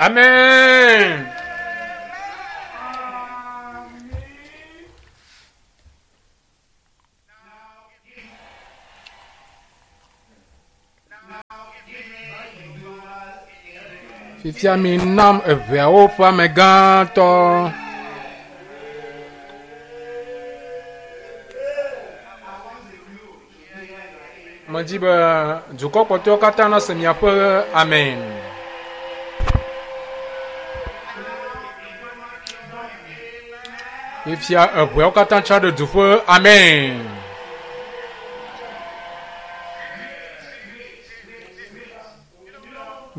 Amen. Fifia mi nam eʋeawo ƒe amegãtɔ. Medzi be dukɔ kpɔtɔewo katã nase miaƒe amen. Fifia eʋeawo katã tsa ɖe du ƒe amen.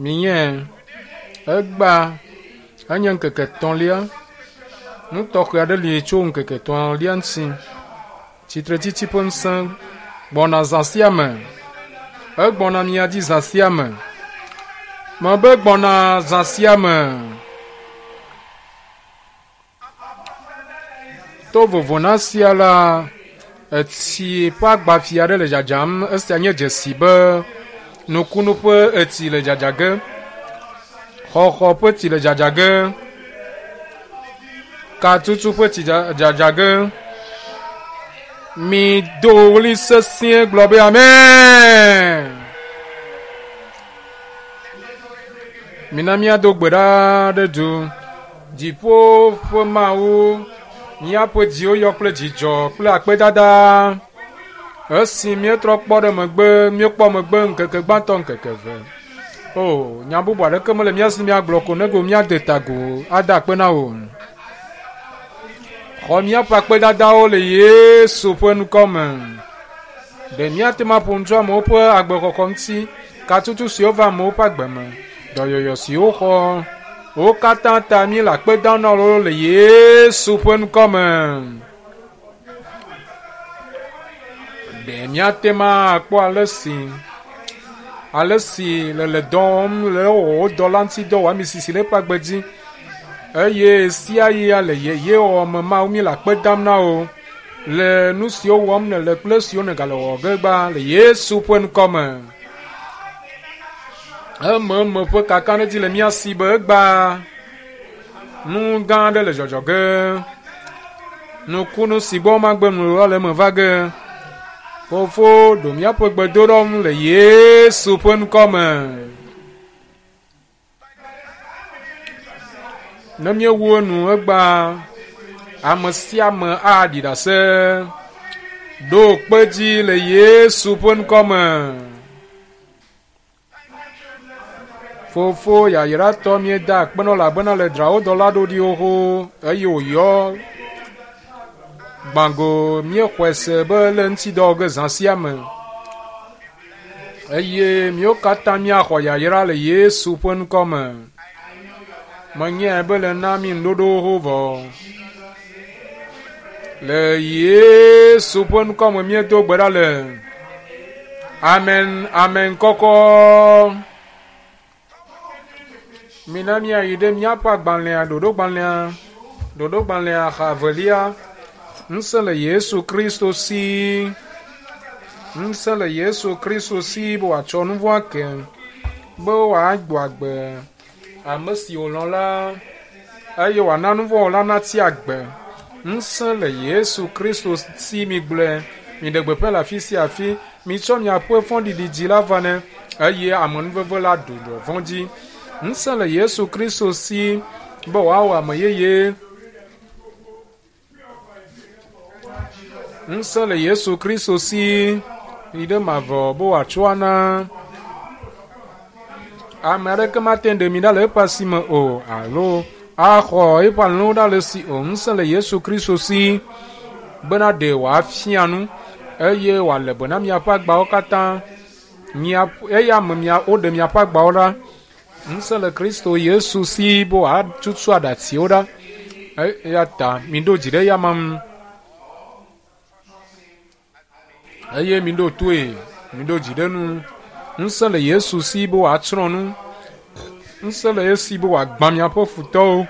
Minye egba enye ŋkeke etɔ̃lia. Nu tɔxɛ aɖe li tso ŋkeke etɔ̃lia ŋuti. Tsitretsitsi ƒe ŋusẽ gbɔna zã sia me. Egbɔna mia dzi zã sia me. Mebe gbɔna zã sia me. To vovo na sia la, etsi ƒe agbafia aɖe le dzadzam. Esia nye dzesi be nukunu ƒe etsi le dzadza ge. Xɔxɔ ƒe tsi le dzadza ge. Katutu ƒe tsi dzadza ge. Mido ɣli sesĩe gblɔ be amen. Mina míado gbe ɖa ɖe du. Dziƒo ƒe Mawu, míaƒe dziwo yɔ kple dzidzɔ kple akpedada. Esi míetrɔ kpɔ ɖe megbe, míekpɔ megbe ŋkeke gbãtɔ ŋkeke eve. O, nya bubu aɖeke mele mía si míagblɔ ko nego míade ta agu ada akpe na wò. Xɔ míaƒe akpedadawo le Yesu ƒe ŋkɔ me. Ɖe míate ŋu aƒo nu tso amewo ƒe agbexɔxɔ ŋuti, katutu siwo va amewo ƒe agbe me, dɔyɔyɔ siwo woxɔ, wo katã ta míele akpe dam na wo le Yesu ƒe ŋkɔ me. Ɖe míate ŋu akpɔ ale si ale si le le dɔ wɔm le wò dɔ la ŋuti dɔ wɔ ami sisi le eƒe agbe dzi eye sia ɣia le yeye wɔwɔ me Mawu míele akpe dam na wò. le nu siwo wɔm nèle kple esiwo nègale wɔwɔ ge gbã le Yesu ƒe ŋkɔ me. Ememe ƒe kakaɖedzi le mía si be egbea nu gã aɖe le dzɔdzɔ ge. Nukunu si gbɔ magbe nu la le eme va ge. Fofo, ɖo míaƒe gbedoɖɔ ŋu le Yesu ƒe ŋkɔ me. Ne míewu enu egbea, ame sia ame aɖi ɖase. Ɖo kpe dzi le Yesu ƒe ŋkɔ me. Fofo yayratɔ míeda akpe nɔ elabena le dzra wo dɔla ɖo ɖi xoxo eye wòyɔ gbãgo míexɔe se be le ŋuti dɔ wɔ ge zã sia me. Eye míwo katã míaxɔ yayra le Yesu ƒe ŋkɔ me. Menyae be le na mí nuɖoɖowo ho vɔ. Le Yesu ƒe ŋkɔ me míedo gbe ɖa le. Amen, amen kɔkɔ. Mina míayi ɖe míaƒe agbalẽa, ɖoɖogbalẽa, ɖoɖogbalẽa xa evelia. Ŋusẽ le Yesu Kristo si. Ŋusẽ le Yesu Kristo si be wòatsɔ nu vɔ̃ ake, be wòagbɔ agbe ame si wòlɔ̃ la, eye wòana nu vɔ̃ wɔla natsi agbe. Ŋusẽ le Yesu Kristo si migblɔe, miɖe gbeƒã le afi sia afi. Mitsɔ miaƒe fɔɖiɖi dzi la va ne, eye amenuveve la ɖu dɔvɔ̃ dzi. Ŋusẽ le Yesu Kristo si be wòawɔ ame yeye. Ŋusẽ le Yesu Kristo si yi ɖe mavɔ be wòatsɔ ana. Ame aɖeke mate ŋu ɖe mi ɖa le eƒe asi me o alo axɔ eƒe alẽwo ɖa le esi o. Ŋusẽ le Yesu Kristo si bena ɖe wòafia nu eye wòale be na miaƒe agbawo katã. Mia, eya me mia, woɖe miaƒe agbawo ɖa. Ŋusẽ le Kristo Yesu si be wòatutu aɖatsiwo ɖa. Eya ta miɖo dzi ɖe eyama ŋu. Eye miɖo toe, miɖo dzi ɖe nu. Ŋusẽ le Yesu si be wòatsrɔ̃ nu. Ŋusẽ le esi be wòagbã miaƒe futɔwo.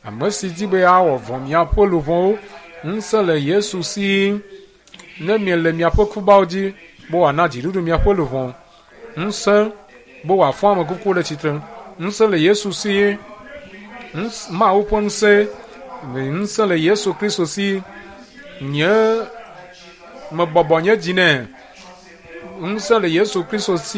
Ame si di be yeawɔ vɔ̃ miaƒe luʋɔwo. Ŋusẽ le Yesu si ne miele miaƒe kubawo dzi be wòana dziɖuɖu miaƒe luʋɔ. Ŋusẽ be wòafɔ ame kukuwo ɖe tsitre. Ŋusẽ le Yesu si. Mawu ƒe ŋusẽ. Ŋusẽ le Yesu Kristo si. Nye mebɔbɔ nye dzi nɛ. Ŋusẽ le Yesu Kristo si.